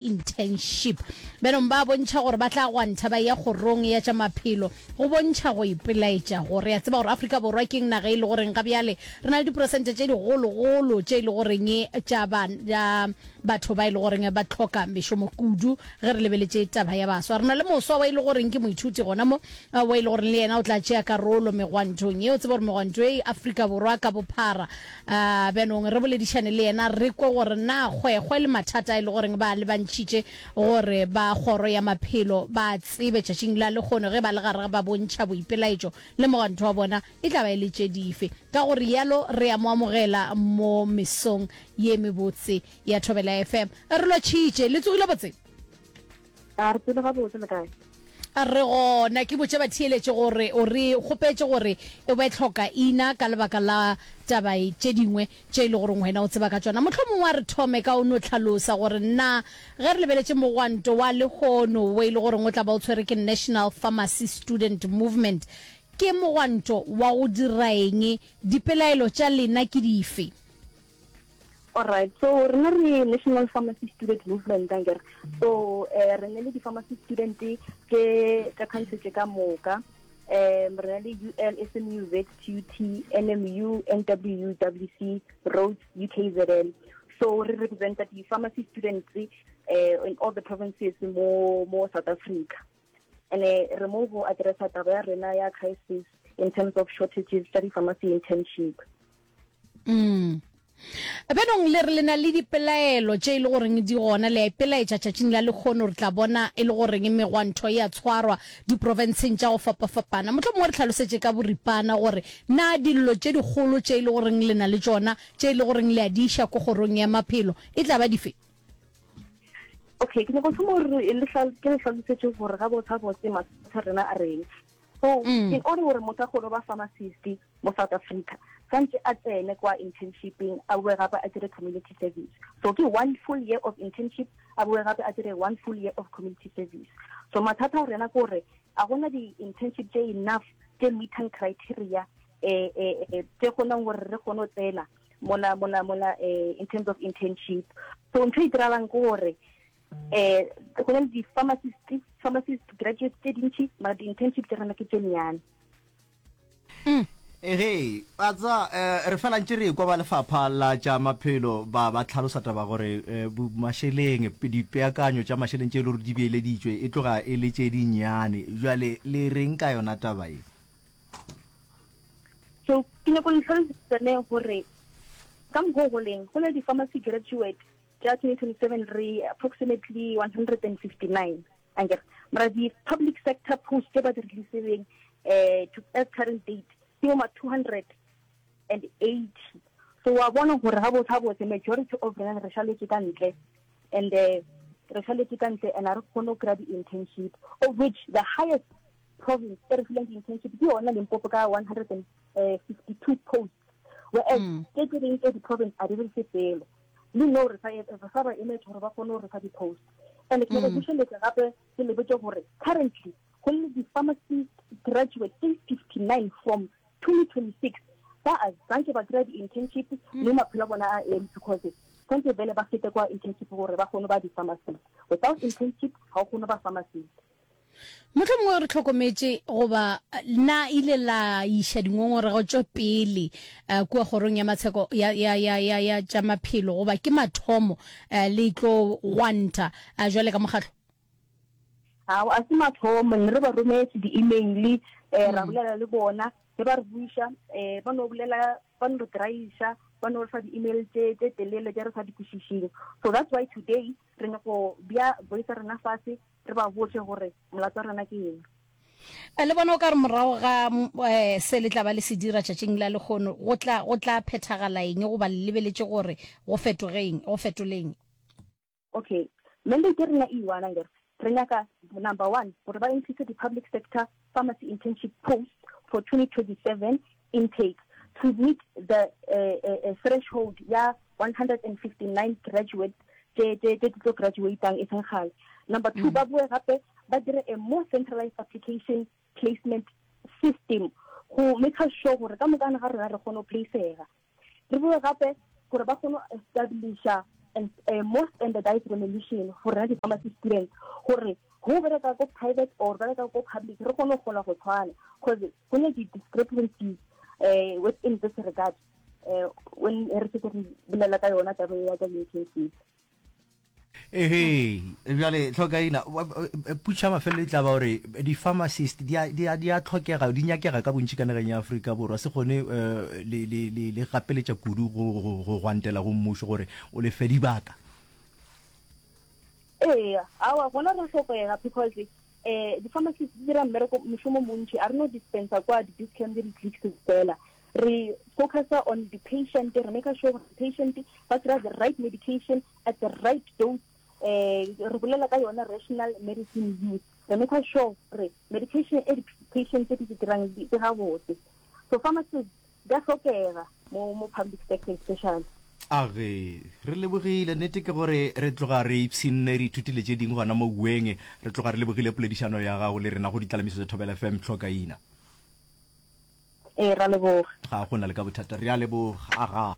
Internship. Bjanong ba bontšha gore ba tla gwantha ba eya kgorong ya tša maphelo go bontšha go ipelaetša go. Re a tseba gore Afrika Borwa ke naga e le goreng ga bjale re na le diperesente tše digologolo tše e le goreng tša ba, batho ba e le goreng ba hloka mešomo kudu ge re lebeletše taba ya baswa. Re na le moswa wa e le goreng ke moithuti gona mo wa e le goreng le yena o tla tšea karolo megwantong ye. O tseba gore megwanto e Afrika Borwa ka bophara A bjanong re boledišane le yena re kwe gore na kgwekgwe le mathata a e le goreng ba a lebantšhitše gore ba kgoro ya maphelo ba a tsebe tšatšing la lehono ge ba le gare ba bontšha boipelaetšo le mogwanto wa bona e tla ba e le tše dife. Ka go realo re a mo amogela mo mesong ye mebotse ya Thobela FM. Re lotšhitše. Le tsogile botse? A re tsebe gabotse le kae? A re gona ke botše batheeletši gore o re kgopetše gore o be hloka ina ka lebaka la taba tše dingwe tše e le goreng wena o tseba ka tšona. Mohlomongwe a re thome ka o no hlalosa gore na ge re lebeletše mogwanto wa lehono wo e le goreng o tla ba o tshwere ke National Pharmacy Student Movement ke mogwanto wa go dira eng, dipelaelo tša lena ke dife? Alright, so rena re National Pharmacy Student Movement ankere. So eh re ne le di-pharmacy student tše tša country tše ka moka. Um re na le UL, SMU, ZTUT, NMU, NWU, WC, Rhodes, UKZN. So re representa di-pharmacy students eh in all the provinces mo mo South Africa. And re mo go addressa taba ya rena ya crisis in terms of shortages tša di-pharmacy internship. Mm. Bjanong le re le na le dipelaelo tše e le goreng di gona, le a ipelaetša tšatšing la lekgono, re tla bona e le goreng megwantho e a tshwarwa diprofenseng tša go fapafapana. Mohlomongwe re hlalosetše ka boripana gore na dillo tše dikgolo tše e le goreng le na le tšona, tše e le goreng le a di iša ko kgorong ya maphelo, e tla ba dife? Okay, ke nyaka go thoma gore ke le hlalosetše gore gabotse gabotse mathata a rena a reng. So mm. in order gore motho a kgone ba pharmacist mo South Africa, santse a tsene kwa internshipeng a boe gape a dire community service. So ke one full year of internship a boe gape a dire one full year of community service. So mathata a rena ke gore a gona di-internship tse enough tse meetang criteria eh, eh, eh, tse kgonang gore re kgone go tsena mola mola mola eh, in terms of internship. So ntho e diralang ke gore eh go na le di-pharmacist pharmacist graduates tse dintši mara di-internship tse rena ke tse nnyane mm. Ege, a tsa eh, re fela ntše re kwa ba lefapha la tša maphelo ba ba tlhalosa taba gore eh, mašeleng dipeakanyo tša mašeleng tše e le gore di beeleditšwe e tloga e le tše dinnyane. Jwale le reng ka yona taba e? So ke nyako le tlhalosetsa ne gore ka mokgwa o go leng go na le di-pharmacy graduate tša 2027 re approximately 159 ankere mara di-public sector post tse ba di releasileng um to as current date ke bo ma 280 so wa bona gore ga botse ga botse majority of rena re šaletse ka ntle and uh, re šaletse ka ntle and a re kgone go kry-a di-internship of which the highest province e re fileng di-internship ke yona limpopo ka 152 posts whereas mm. tse tse dingwe tse di-province a di re fe selo le no re sa ba emetse gore ba kgone go re fa di-post and ke nyaka mm. bušeletsa gape ke le botse gore currently go le di-pharmacy graduate tse 59 from 2026 ba a zanke ba kry-a di-internship mm. mme maphelo a bona a eme because tshwanetse bele ba fete kwa internship gore ba kgone ba di-pharmacist without internship ga o kgone ba pharmacist Mohlomongwe re hlokometše goba na ile la iša dingongorego tšo pele uh, kua kgorong ya matsheko ya, ya, ya, ya, ya tša maphelo goba ke mathomo uh, le tlo gwanta uh, jwale ka mokgatlo? Ao, a se mathomo, ne re ba rometse di-email eh, ra mm. bolela le bona ge ba re buiša um ba no bolela ba no re draiša ba no re fa di-email tše tše telele tše re sa di kwešišeng so that's why today re nyako bja voice rena fase re ba botše gore molato wa rena ke eng. Le bona o ka re morago ga um se le tla ba le se dira tšatšing la lekgono go tla go tla phethagala eng goba le lebeletše gore go fetoge eng go fetole eng? Okay, mandate rena e one akere re nyaka number one gore ba increase di-public sector pharmacy internship posts for 2027 intake to meet the uh, uh, threshold ya 159 graduates tše tše tše di tlo graduatang e seng kgale. Number 2 mm. ba boe gape ba dire a more centralized application placement system go make sure gore ka mokana ga rena re kgone go placega. Re boe gape gore ba kgone go establisha. and uh, more standardized remuneration for rena di-pharmacy students gore go bereka ko private or bereka ko public re kgone go gola go tshwana because go ne di-discrepancies uh, within this regard uh, when re setse re bolela ka yona taba ya ka di-vacancies. Ehe, bjale tlhokaina putša mafelelo e tla ba gore di-pharmacist di a, di a, di a tlhokega, di nyakega ka bontši ka nageng ya Afrika Borwa. Se kgone eh, le, le, le, le gapeletša kudu go, go, go gwantela go mmušo gore o le fe dibaka. Ee, awa gona re hlokega because eh di-pharmacist di dira mmereko mošomo montši a re no dispensa kwa di-discam le di-clicks fela re focusa on the patient re make sure gore patient ba kry the right medication at the right dose eh re bolela ka yona rational medicine use re make sure gore medication e di-patient tse di se dirang di gabotse so pharmacist di a hlokega mo mo public sector especially. Age, re lebogile. Nnete ke gore re tloga re ipshinne, re ithutile tše dingwe gona mo Ueng. Re tloga re lebogile poledišano ya gago le rena go Ditlalamiso tša Thobela FM. Tlhokaina. Ee, ra leboga. Ga go na le ka bothata. Re a leboga. Aga.